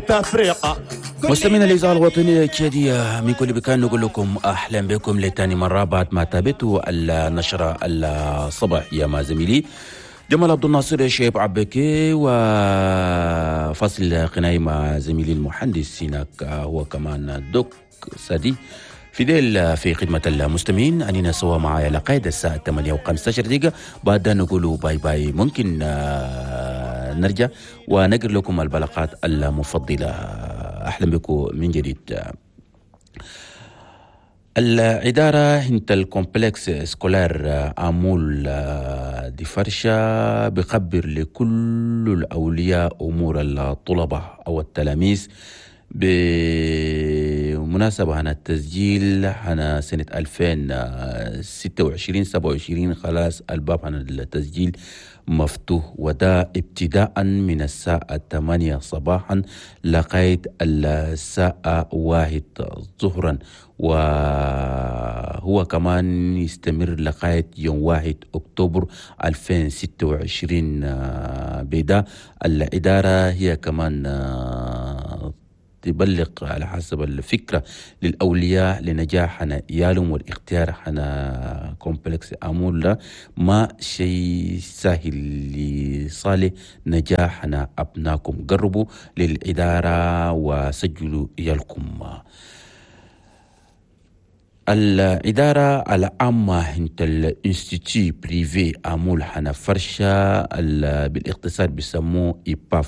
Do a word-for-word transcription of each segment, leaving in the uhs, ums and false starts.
تفرقة. مستمعينا الإذاعة الوطنية التشادية من كل مكان، نقول لكم أهلا بكم لتاني مرة بعد ما تابعتوا النشرة الصباحية مع زميلي جمال عبد الناصر شيب عبكي، وفصل غنائي مع زميلي المهندس هناك هو كمان دوك سادي فيديل في خدمة المستمعين. أننا سوا معايا لقيد الساعة ثمانية وخمسة عشر دقيقة، بعد نقول bye bye. ممكن آه، نرجع ونقر لكم البلاغات المفضلة. أهلا بكم من جديد. الإدارة هنت ال complexe scolaire أمول دي فرشة بخبر لكل الأولياء أمور الطلبة أو التلاميذ بمناسبة هنا التسجيل هنا سنة ألفين وستة وعشرين سبعة وعشرين. خلاص، الباب هنا التسجيل مفتوح، وده ابتداء من الساعة ثمانية صباحا لغاية الساعة واحد ظهرا، وهو كمان يستمر لغاية يوم واحد أكتوبر ألفين وستة وعشرين. بدا الإدارة هي كمان تبلغ على حسب الفكرة للأولياء لنجاح هنا عيالهم والاختيار هنا complexe أمول ما شيء سهل لصالح نجاح هنا أبناكم. قربوا للإدارة وسجلوا عيالكم. الإدارة العامة هنت ال institut privé أمول حنا فرشة، بالاختصار بيسموه IPAF،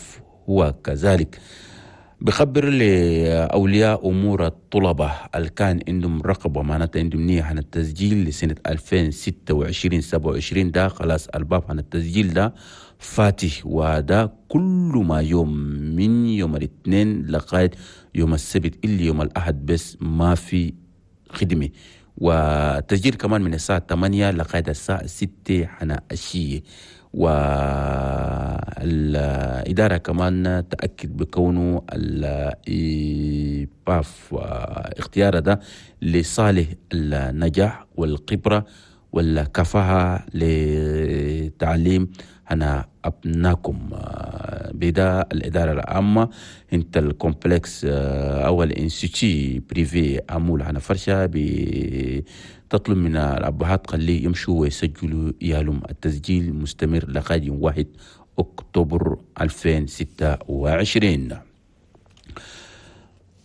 هو كذلك بخبر لأولياء أمور الطلبة اللي كان عندهم رغبة، معناتها عندهم نية عن التسجيل لسنة ألفين وستة وعشرين سبعة وعشرين، ده خلاص الباب عن التسجيل ده فاتح، وده كل ما يوم من يوم الاثنين لغاية يوم السبت، إلا يوم الأحد بس ما في خدمة. والتسجيل كمان من الساعة ثمانية لغاية الساعة ستة حنا عشية. والإدارة كمان تأكد بكونه ال IPAF اختيار ده لصالح النجاح والخبرة والكفاءة لتعليم هنا أبناكم. بدا الإدارة العامة انت ال complexe أو ال institut privé أمول هنا فرشة تطلب من الأبهات خليه يمشوا ويسجلوا عيالهم. التسجيل مستمر لغاية يوم واحد أكتوبر ألفين وستة وعشرين.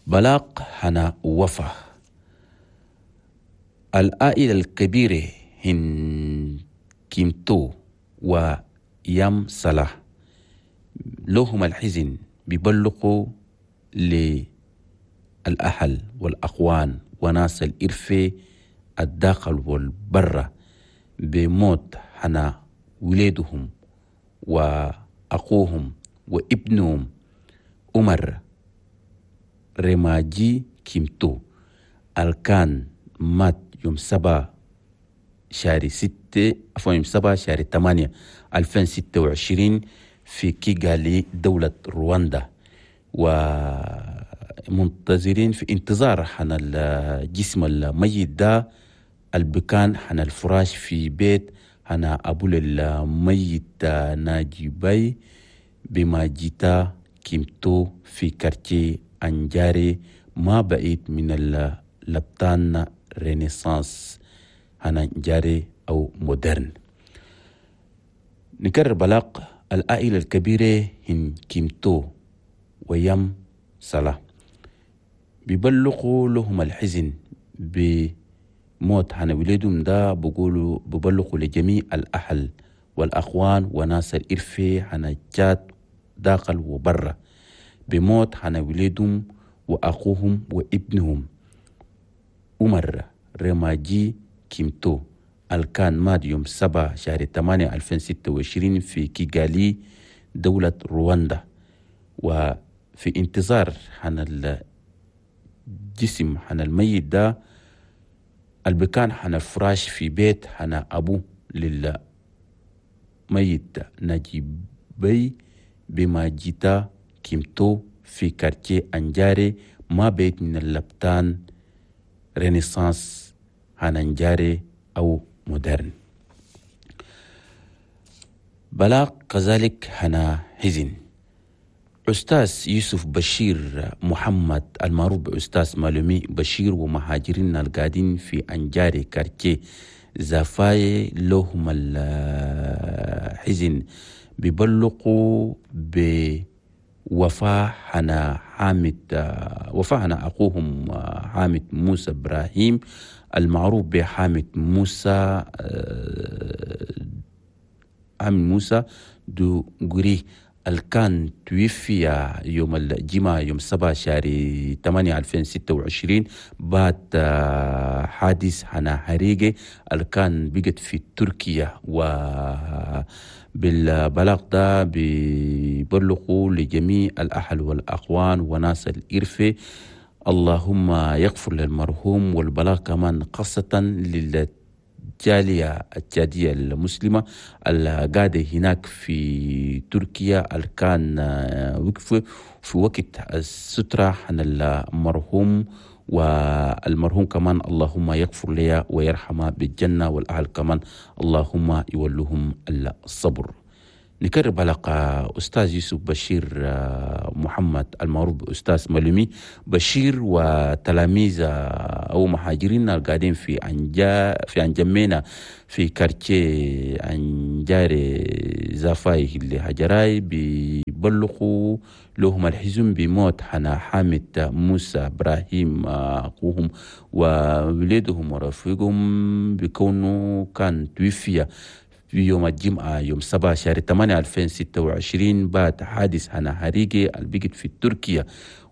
بلاغ هنا وفاة. العائلة الكبيرة هن كيمتو ويام صلاح لهم الحزن بيبلغوا للأهل والأخوان وناس الإرفة الداخل والبرة بموت حنا ولادهم وأخوهم وابنهم عمر رماجي كيمتو الكان مات يوم سبعة شهر ستة، عفوا، يوم سبعة شهر ثمانية ألفين ستة وعشرين في كيغالي دولة رواندا. ومنتظرين في انتظار حنا الجسم الميت ده البكان حنا الفراش في بيت حنا أبو الميت ناجي باي بما جيتا كيمتو في quartier أنجاري ما بعيد من اللبتان Renaissance هنا جاري أو moderne. نكرر بلاغ: العائلة الكبيرة هن كيمتو ويم صلاح بيبلغوا لهم الحزن بموت هنا ولادهم ده، بيقولوا بيبلغوا لجميع الأهل والأخوان وناس الإرفة هنا جات داخل وبرا بموت هنا ولادهم وأخوهم وابنهم عمر رماجي كيمتو الكان مات يوم سبعة شهر ثمانية ألفين ستة وعشرين في كيغالي دولة رواندا، وفي انتظار حن الجسم حن الميت ده البكان حن الفراش في بيت حن أبو للميت نجيب بي بما جيتا كيمتو في quartier أنجاري ما بعيد من اللبتان Renaissance هننجاري أو moderne. بلاغ كذلك هنا حزن. أستاذ يوسف بشير محمد المعروف بأستاذ مالومي بشير ومهاجرين القاعدين في أنجاري quartier زافاي لهم الحزن بيبلغوا بوفاة حنا حامد وفاة حنا أخوهم حامد موسى إبراهيم المعروف بحامد موسى حامد موسى دوغري الكان توفي يوم الجمعة يوم سبعة شهر ثمانية ألفين وستة وعشرين بعد حادث حنا حريقة الكان بقت في تركيا. وبالبلاغ ده بيبلغوا لجميع الأهل والأخوان وناس الإرفة، اللهم يغفر للمرحوم. والبلاغ كمان خاصة لل الجالية التشادية المسلمة القاعدة هناك في تركيا الكان وقف في وقت السترة عن المرحوم، والمرحوم كمان اللهم يغفر لي ويرحمه بالجنة، والأهل كمان اللهم يولهم الصبر. نكرر بلاقة أستاذ يوسف بشير محمد المعروف بأستاذ مالومي بشير وتلاميذ أو مهاجرين القاعدين في أنجا في أنجمينا في quartier أنجاري زافاي اللي هجراي بيبلغوا لهم الحزن بموت حنا حامد موسى إبراهيم أخوهم وولدهم ورفيقهم بكونه كان توفي في يوم الجمعة يوم سبعة شهر ثمانية ألفين وستة وعشرين بعد حادث هنا حريقة البقت في تركيا.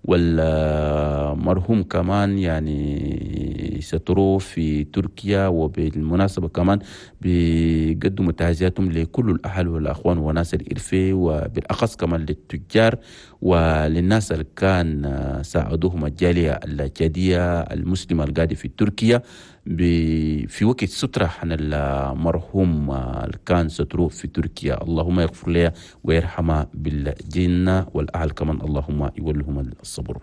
والمرحوم كمان يعني ستروه في تركيا. وبالمناسبة كمان بيقدموا تعزياتهم لكل الأهل والأخوان وناس الإرفي، وبالأخص كمان للتجار وللناس اللي كان ساعدوهم الجالية التشادية المسلمة القاعدة في تركيا في وقت سترة عن المرحوم اللي كان ستروه في تركيا. اللهم يغفر له ويرحمه بالجنة، والأهل كمان اللهم يولهم الصبر.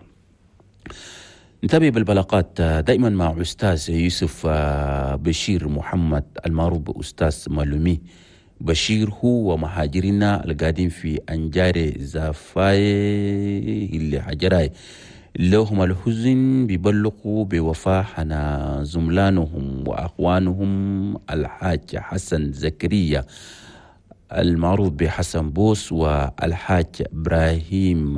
نتابع بالبلاقات دائما مع أستاذ يوسف بشير محمد المعروف بأستاذ مالومي بشير، هو ومهاجرنا القاعدين في أنجاري زافاي اللي حجراي لهم الحزن بيبلغوا بوفاة حنا زملانهم وأخوانهم الحاج حسن زكريا المعروف بحسن بوس، والحاج إبراهيم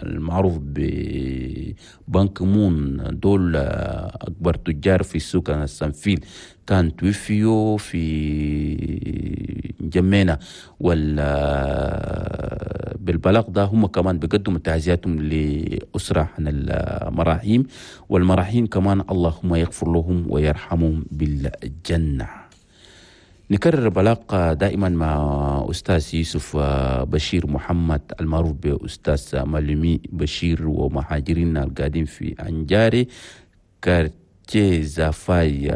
المعروف ببنك مون، دول أكبر تجار في السوق السنفيل كان توفيوا في جمينة. وال بالبلاغ ده هم كمان بيقدموا تعزياتهم لأسرة عن المراحيم، والمراحيم كمان اللهم يغفر لهم ويرحمهم بالجنة. نكرر بلاغ دائما مع أستاذ يوسف بشير محمد المعروف بأستاذ مالومي بشير ومهاجرين القاعدين في أنجاري quartier زافاي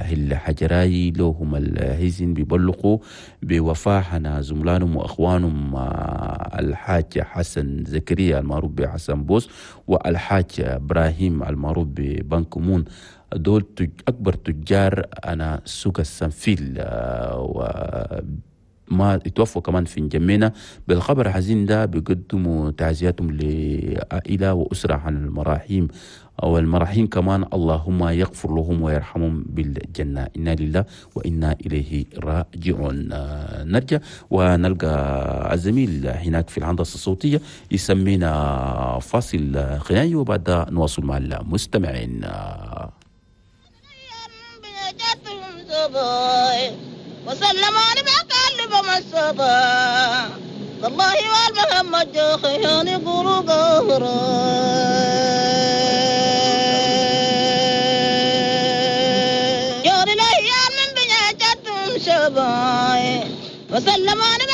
هل حجراي لهم الحزن بيبلغوا بوفاة حنا زملانهم وأخوانهم الحاج حسن زكريا المعروف بحسن بوس، والحاج إبراهيم المعروف ببنك مون، دول أكبر تجار أنا سوق السنفيل و ما اتوفوا كمان في جمينة. بالخبر الحزين ده بيقدموا تعزياتهم لعائلة وأسرة عن المراحيم، والمراحيم كمان اللهم يغفر لهم ويرحمهم بالجنة. إنا لله وإنا إليه راجعون. نرجع ونلقى الزميل هناك في الهندسة الصوتية يسمينا فاصل غنائي، وبعد نواصل مع المستمعين. وسلموني بقلب مصطفى والله والمحمد جوخياني قولوا قهرا يوري الأيام من بنياتهم شباي وسلموني